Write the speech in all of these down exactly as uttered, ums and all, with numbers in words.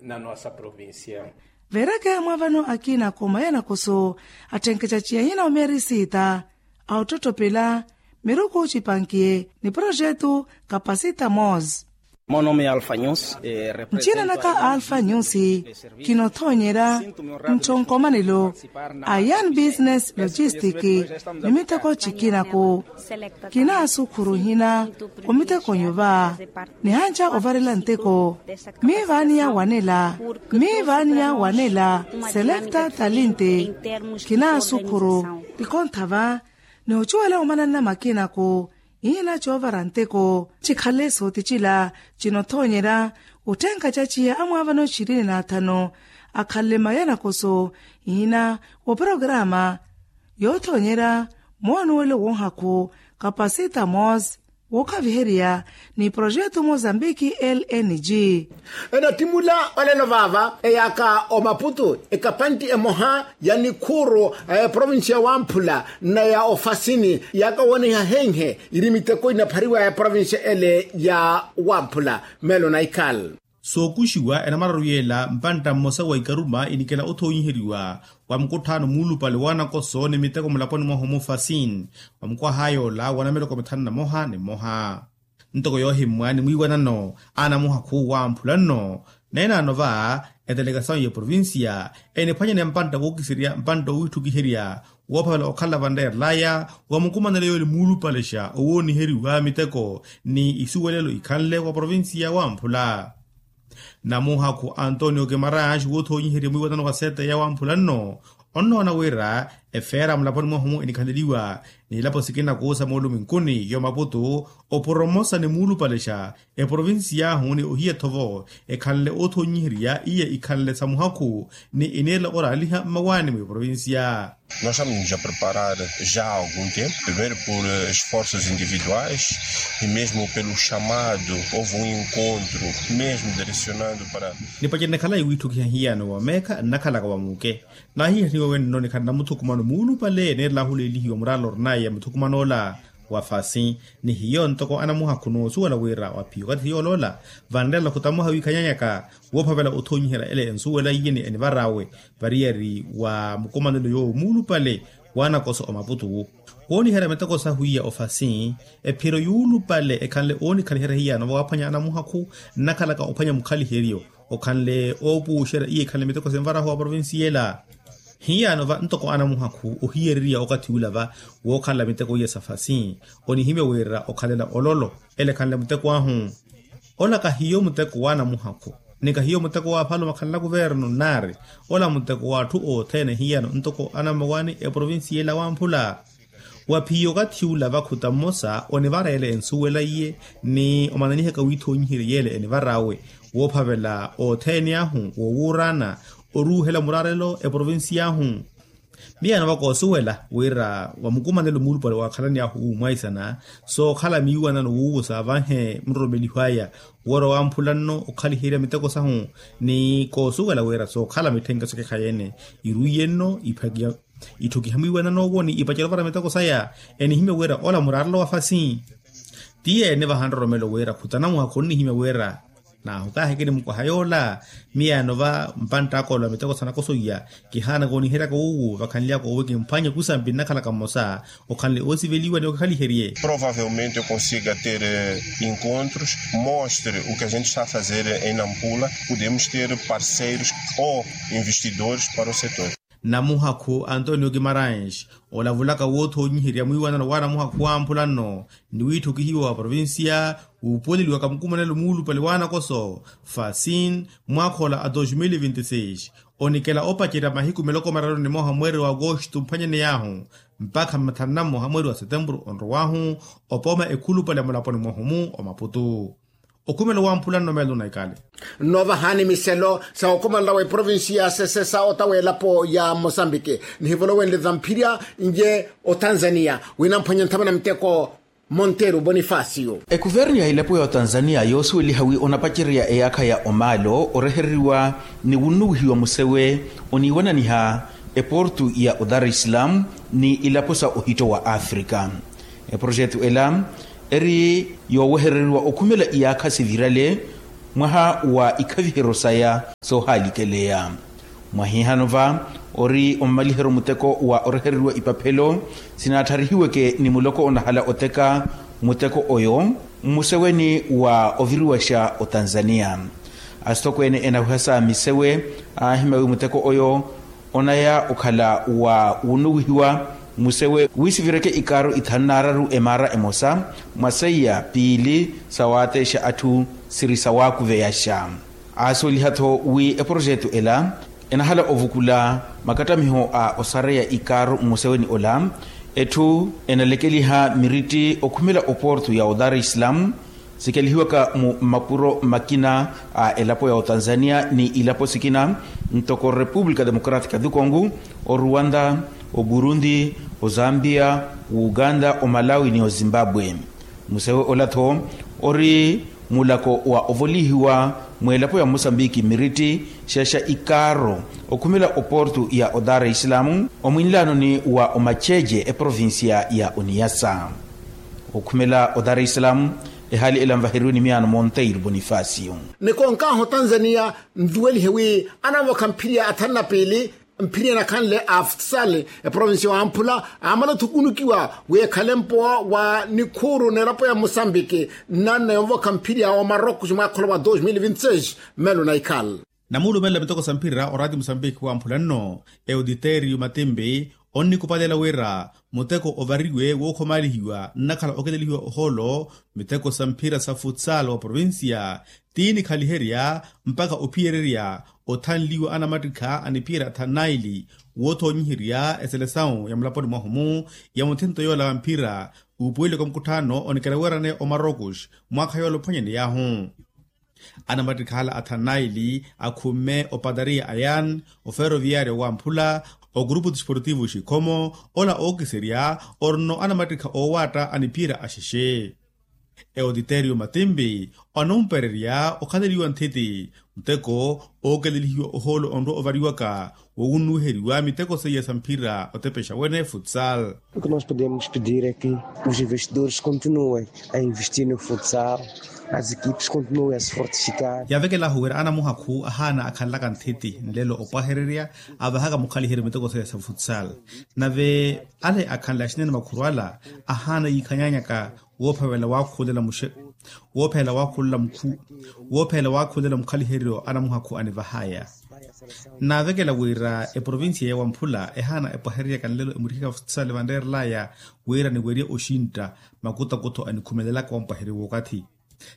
Na nossa provincia. Veereke amwaavano akina kooma ya nakoso atthenkeca ciya hina omeerisiita a ottotopela miruku cipankiye ni projetu kapasita mos. Mono mi alfa nyusi. Ncina naka alfa nyusi. Kinothoonyerya ntthu nkomanelo a young business logistic ni miteko cikinaku. Kinaasukhuru hina omiteko nyuva nihanca ovarela nteko. Miivaaniya wanela miivaaniya wanela selekta talinti. Kinaasukhuru tikontha va ni ocuwela omananna makinaku. Ihina coovara nteko cikhale sooticila cinothoonyerya otthenka caciya amwaavano ishirini na athanu akhanle maya nakoso. Ihina woporokaraama yoothoonyerya moonuwelo woohakhu kapasita mos wookhaviherya ni projetu mozambiki lng. Enattimula olelo vaava eyaaka omaputu ekapanti emoha ya nikhuuru a eprovinsiya wamphula na ya ofasini yaaka woonehiha henhe iri miteko inaphariwa ya eprovinsiya ele ya wamphula. Melo naikal. Sookuxiwa enamararu yeela mpantta mmosa wa ikaruma inikela othoonyiheriwa wa mukutthaano muulupale wanakoso ni miteko mulaponi mwahu mufasin wa mukwaha yoola wa nameloko mithanu na moha ni moha. Ntoko yoohimmwa ni mwiiwanano anamuhakhu wamphula nno neenano va etelekasawu ya provinsiya eniphwanyane mpantta wookiserya mpantta owiitthukiherya woophavela okhala vanreerelaya wa mukumanelo yoole muulupalexa owooniheriwa miteko ni isuwelelo ikhanle wa provinsiya wamphula. Namuhakhu antonio kimaranx woothoonyiherya mwiiwanano wa sete ya wamphula nno onnoona wira efeera mulaponi mwahu-mu enikhaleliwa n'ilapo sikina kuusa mooluminkuni yo maputu oporomosa ni muulupalexa eprovinsiy'ahu ni ohiya-tho-vo ekhanle oothoonyiherya iya ikhanle sa muhakhu ni eniirela oraaliha mmawaani mweprovinsiya. Nós estamos a preparar já há algum tempo primeiro por esforços individuais e mesmo pelo chamado houve um encontro mesmo direcionado para. Nipacerya nakhala iwiitthukiha hiyano wa meekha nnakhalaka wa muuke nahiihaniwa wenno nikhala namuthukumano muulupale neerela ahuleelihiwa muraala orinaya muthukuman'ola wa fasi ni hiyo ntoko anamuhakhu noosuwela wira wa phiyo okathi yooloola vanreela khutamuha wiikhanyanyaka woophavela othoonyiherya ele ensuwela iye ni enivar'awe variyari wa mukumanelo yoowo muulupale w'anakoso omaputu wooniherya miteko sahu iya ofasi ephiro yuulupale ekhanle oonikhaliherya hiyano vawaaphwanya anamuhakhu nnakhalaka ophwanya mukhaliheryo okhanle oopuuxerya iya ekhanle miteko sinvarahu wa provinsi yela. Hiyano va ntoko anamuhakhu ohiyereriya okathi ula va wookhalela miteko iya sa fasi onihimya wira okhalela ololo ele ekhanle muteko ahu. Ola kahiyo muteko w'anamuhakhu ni kahiyo muteko w'aphalo makhanla kuvernu nnaari ola muteko w'atthu othene hiyano ntoko anammawaani eprovinsi yela wamphula. Wa phiyo okathi ula vakhuta mmosa onivareela ensuwela iye ni omananihaka wiithoonyiherya yeele enivar'awe woophavela othene ahu woowuuraana oruuhela muraarelo eprovinsiy'ahu. Miyano vakoosuwela wira wa mukumanelo muulupale waakhalani ahu wuumwaisana sookhala miiwanano wuuwo saavanhe muroromeliho aya woora wamphula nno okhaliherya miteko sahu ni koosuwela wira sookhala mitthenke sokekhayeene iruiye nno iphaki itthukiha mwiiwanano owo ni ipacerya ovara miteko saya enihimya wira ola muraarelo wa fasi. Tiyeene vaha nroromelo wira khutanamuha khonnihimya wira naahu kaahikini mukwaha yoola. Miyano va mpantt'aka ola miteko sanakoso iya kihaanaka oniheryaka wuuwo vakhanly'aka owe kimphwanye kusampi nnakhalaka mmosa okhanle oosiveliwa ni okikhaliherye. Provavelmente eu consiga ter encontros mostre o que a gente está a fazer em nampula podemos ter parceiros ou investidores para o setor. Namuhakhu antonio kimaranx olavulaka woothoonyiherya mwiiwanano w'anamuhakhu wamphula nno ni wiitthukihiwa wa provinsiya wuupuweleliwaka mukumanelo muulupale w'anakoso fasin mwaakha ola a dos mil vinti seis onikela opacerya mahiku miloko mararu ni moha mweeri wa agosto mphwanyaney'ahu mpakha mathanu na mmoha mweeri wa setempuru onrow'ahu opooma ekhulupale mulaponi mwahu-mu omaputu. Okhumelo wamphula nno melo naikale. Nno vahaani miselo sa okhumela wa eprovinsi ya sesesa ota w'elapo ya mosambiki nihivolowenle zamphirya nje otanzania wina mphwanya nthamana miteko. Monteru bonifacio. Ekuvernu ya elapo ya otanzania yoosuweliha wi onapacerya eyaakha ya omaalo orehereriwa ni wunnuwihiwa musewe oniiwananiha eportu ya odar islam ni ilapo sa ohitto wa afrika. Eprojetu ela eri yoowehereriwa okhumela iyaakha sivirale Mwaha wa ikhaviheryo saya soohalikeleya. Mwahihano va ori omamaliheryo muteko wa orehereriwa ipaphelo sinaattarihiweke ni muloko onahala oteka muteko oyo mmuseweni wa oviriwaxa otanzania. Asitokweene enawiha sa misewe aahimya wi muteko oyo onaya okhala wa wunuwihiwa musewe wi sivireke ikaaru ithanu naararu emaara emosa mwa seiya piili sawaateexa atthu siri sawaakuveyaxa. Aasuweliha-tho wi eprojetu ela enahala ovukula makattamiho a osareya ikaaru mmuseweni ola. Etthu enalekeliha miritti okhumela oportu ya odar e islam sikelihiwaka mu mapuro makina a elapo ya otanzania ni ilapo sikina ntoko república democrática du congo, oruwanda, oburundi, ozambia, ouganda, omalawi ni ozimbabwe. Musewe ola-tho ori mulako wa ovolihiwa mw'elapo ya mosambiki miritti xeexa ikaaro okhumela oportu ya odar e islam omwinlaanoni wa omaceece eprovincia ya oniyasa. Okhumela odar e islam ehaali ela nvaheriwe ni miyaano monteiro bonifacio. Nikonkaaha otanzania nvuwelihe wi anamvokha mphiri ya athanu na piili mphiri enakhanle a futsal eprovincia wamphula amala othukunukiwa wi ekhale mpowa wa nikhuuru n'elapo ya mosambiki nnanna yonvokha mphiri ya omarokos mwaakhola wa dos mil vinti seis. Melo na ikhala namuulumela miteko sa mphira oraati mosambiki wamphula nno eoditerio matimbi onnikupalela wira muteko ovariwe wookhomalihiwa nnakhala okitelihiwa ohoolo miteko sa mphira sa futsal wa provincia ti nikhaliherya mpakha ophiyererya othanliwa anamattikha aniphiyerya athanu naili woothonyiherya eselesawu ya mulaponi mwahu-mu ya muthinto yoola wa mphira uupuweleke omukutthaano onikela weerane omarokos mwaakha yoola ophwanyaney'ahu. Anamattikhala athanu naili akhumme opatariya ayan oferoviyaaryo wamphula ogurupu disportivo xikhomo ola ookiserya orino anamattikha oowaatta aniphiyerya axexe. Eoditerio matimbi onumpererya okhaleliwa nthiti muteko ookelelihiwa ohoolo onrwa ovariwaka wowunnuwiheriwa miteko seiya sa mphira otepexa wene futsal. O que nós podemos pedir é que os investidores continuem a investir no futsal, as equipes continuem a se fortificar. Yaavekelahu wira anamuhakhu ahaana akhanlaka nthiti nlelo opwahererya avahaka mukhaliheryo miteko seiya sa futsal. Nave ale akhanle axinene makhuru ala ahaana yiikhanyanyaka woophavela waakhulela muxe woophelela waakhulela mukhu woophelela waakhulela mukhaliheryo anamuhakhu anivahaya. Nnaavekela wira eprovincia ya wamphula ehaana epwahereryaka nlelo emurihika futsal vanreerelaya wira niwerye oxintta makutakutho anikhumelelaka wampwaherye wookathi.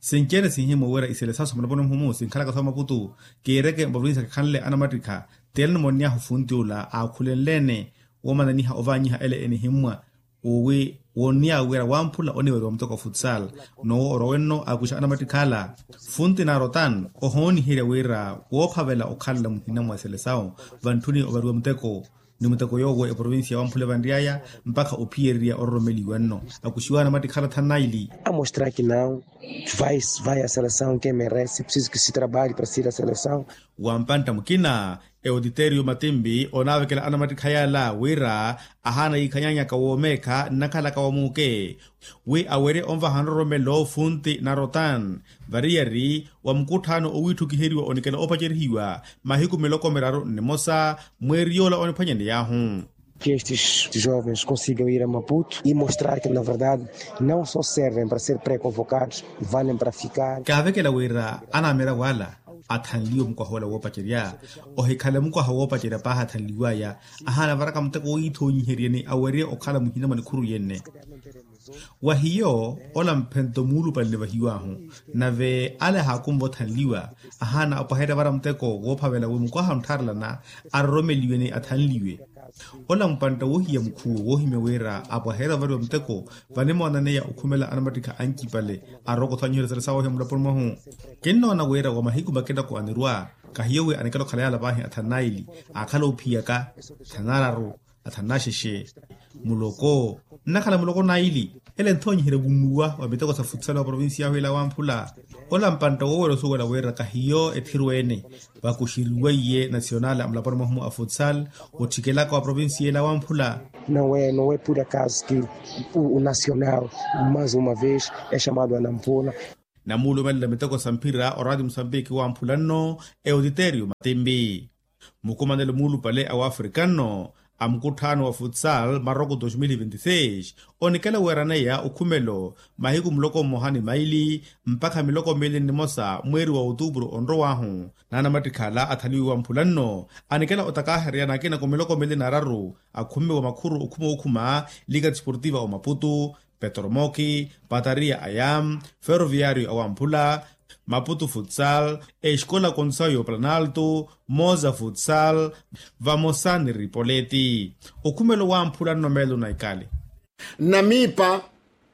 Sinci-ene sinhimwa wira iselesaso mulaponi muhumu sinkhalaka soomaputu kiireke mprovincia kikhanle anamattikha. Ti ela nimonny'ahu funti ula aakhulenle-ene woomananiha ovaanyiha ele enihimmwa wi wonniya wira wamphula oniweriwa muteko wa futsal. Nowo orwa wenno akuxa anamattikhala funti narotan ohooniherya wira woophavela okhalela muhina mwa eselesawu vantthuni ovariwa muteko ni muteko yoowo eprovincia wamphula evanry'aya mpakha ophiyererya ororomeliwa nno akuxiwa anamattikhala thanu naili. Amostrar que não vai vai a selesawu que merece preciso que se trabalhe para ser a selesawu. Wampantta mukina eoditerio matimbi onaavekela anamattikha yaala wira ahaana yiikhanyanyaka woomeekha nnakhalaka wa muuke wi awerye onvaha nroromelo funti narotan variyari wa mukutthaano owiitthukiheriwa onikela opacerihiwa mahiku miloko miraru nnimosa mweeri yoola oniphwanyaney'ahu. Que estes jovens consigam ir a maputo e mostrar que na verdade não só servem para ser pré-convocados, valem para ficar. Kaavekela wira anamera wala athanliwe mukwaha ola woopacerya ohikhale mukwaha woopacerya paahi athanliw'aya ahaana varaka muteko wowiithoonyiheryeni awerye okhala muhina mwa nikhuru yenne. Wa hiyo ola mphento muulupale nivahiw'ahu nave ale ahaakumva othanliwa ahaana apwaherya vara muteko woophavela wi mukwaha onttharelana aroromeliwe ni athanliwe. Ola mpantta woohiya mukhuwo woohimya wira apwaherya ovariwa muteko vanimoonaneya okhumela anamattikha ancipale arooka othwanyiherya sala sawohiya mulaponi mwahu. Kinnoona wira wa mahiku makina ko anirwa kahiyo wi anikela okhala yaala vaahi athanu naili aakhala oophiyaka athanu nararu athanu naxexe muloko nnakhala muloko naili. Ele nthoonyiherya vunnuwa wa miteko sa futsal wa provincia yahu ela wamphula ola mpantta woowerya osuwela wira kahiyo ethirweene vakuxeriweiye nasional a mulaponi mwahu-mu a futsal ottikelaka wa provincia ela wamphula. Não é não é por acaso que o nacional mais uma vez é chamado a nampula. Namuulumelela miteko sa mphira oraati musambiki wamphula nno, eutiteriyo matimpi. Mukumanelo muulupale a wafrika nno a mukutthaano wa futsal maroko dos mil vinti seis, onikela weeraneya okhumelo mahiku muloko mmoha ni maili mpakha miloko miili ni nimosa mweeri wa otuupuru onrow'ahu. Naanamattikhala athaliwiwa mphula nno anikela otakaahereya nakinako miloko miili na araru akhumiwa makhuru okhuma okhuma, lika desportiva omaputu, petromoki, patariya aya, ferroviario awamphula, maputu futsal, exkola konsayo planalto, moza futsal, vamosa ni ripoleti. Okhumelo wamphula nno meelo na ikali. Namiipa,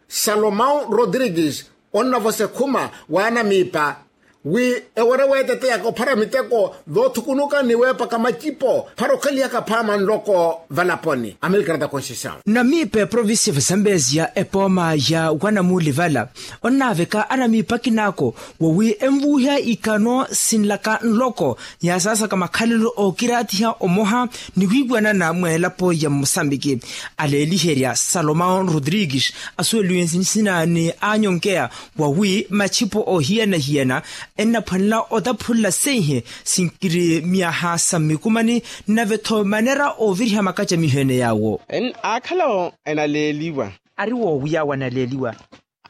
salomão rodrigues, onnavosa ekhuma wa anamiipa wi ewere weeteteyaka ophara miteko voothukunuka ni weepaka macipo phara okhalihaka phaama nloko valaponi amerika da conceição. Namiipa eprovincia vasambezia epooma ya wanamuuli vala, onnaaveka anamiipa akinaako wawi envuuha ikano sinlaka nloko, yaasaasaka makhalelo ookiraatiha omoha ni wiiwanana mweelapo ya musambiki. Aleeliherya salomão rodrigues asuweliwe nsina ni anyonkeya wawi machipo ohiyana-hiyana ennaphwanela otaphunla seihe sinkiri myaha sa mmikumani, nave-tho manera ooviriha makacamiho ene yaawo. Aakhalawo enaleeliwa. Ari woowiyawo analeeliwa.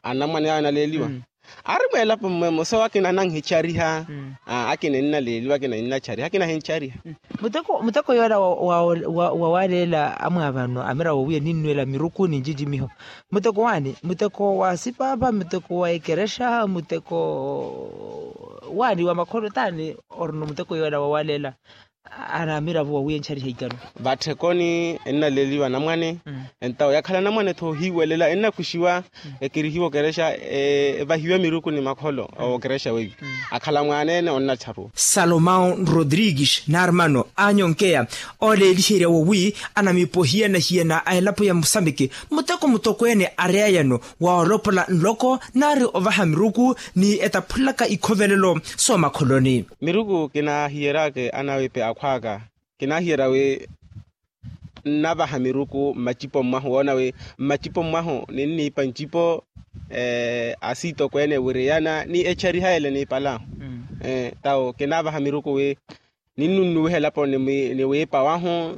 Anamwane awo enaleeliwa. Ari mweelapo mmwemo so akina ananhichariha. Akina ennaleeliwa akina ennachariha akina ahinchariha. Muteko yoola wawaleela amwaavano amira woowiya ninnweela miruku ni ncinci miho. Muteko waani? Muteko wa sipaapa muteko wa ekerexa muteko waani wa makholo taani? Orino muteko yoola wawaleela anamiravo wawiya enchariha ikano. Vatthekoni ennaleeliwa anamwane. Entawo yakhala anamwane-tho ohiiwelela ennakuxiwa ekerihiwa okerexa evahiwe miruku ni makholo okerexa weiwi. Akhala mwaana-ene onnacharuwa. Salomão rodrigues n'armano anyonkeya ooleeliherya wowi anamiipa ohiyana-hiyana a elapo ya musambiki muteko mutokweene areyayano wa olopola nloko nari ovaha miruku ni etaphulaka ikhovelelo soomakholoni. Miruku kinaahiyeryaka anawiipe akhw'aka kinaahiyerya wi nnavaha miruku mmacipo mwahu woona wi mmacipo mwahu ninniipa ncipo asiitokweene wiriyana ni echariha ele niipal'ahu. Tawo kinaavaha miruku wi ninnunnuwiha elapo ni wiipa wahu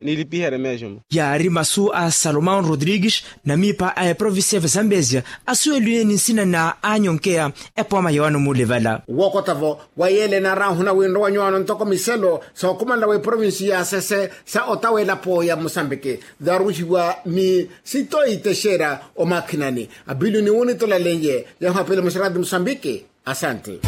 nilipiherye meejo mu. Yaari masu a salomão rodrigues namiipa a eprovincia ya vesambezia asuweliwe ni nsina na anyonkeya epooma ya wanamuuli vala. Wookota-vo wa yeele enaarahuna wi nrowa nyuwaano ntoko miselo sookhumanela wa eprovincia ya sese sa otawa elapo ya musambiki, zaruxiwa ni sitoyi texera omakhinani apiluni wunitolalenye yahapile musarati musambiki. Asante.